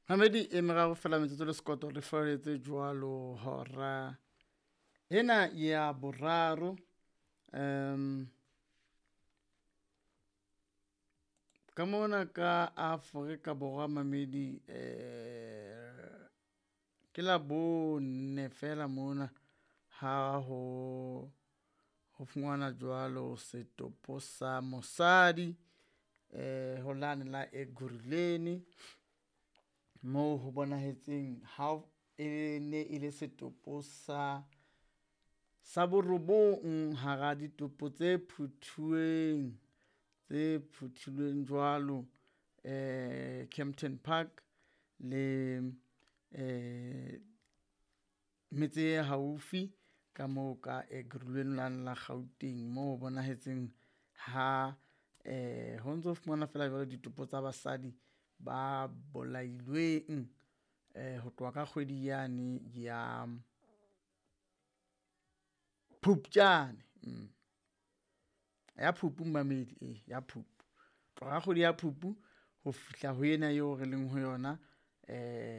Mamedi e meraro fela metsotso le sekoto re foletse jwalo hora ena ya boraro. Ka mona ka Afrika Borwa mamedi ke la bone fela mona ha ho fumana jwalo setopo sa mosadi ho lane la Ekurhuleni moo ho bonahetseng ha e ne e le setopo sa borobong hara ditopo tse phuthuweng tse phuthilweng jwalo Kempton Park le metse e haufi ka moo ka Ekurhuleni lane la Gauteng moo ho bonahetseng ha ho ntso fumana fela jwalo ditopo tsa basadi ba bolailweng ho tloha ka kgwedi yane ya Phupjane. Ya Phupu mamedi e ya Phupu, tloha ka kgwedi ya Phupu ho fihla ho ena eo re leng ho yona.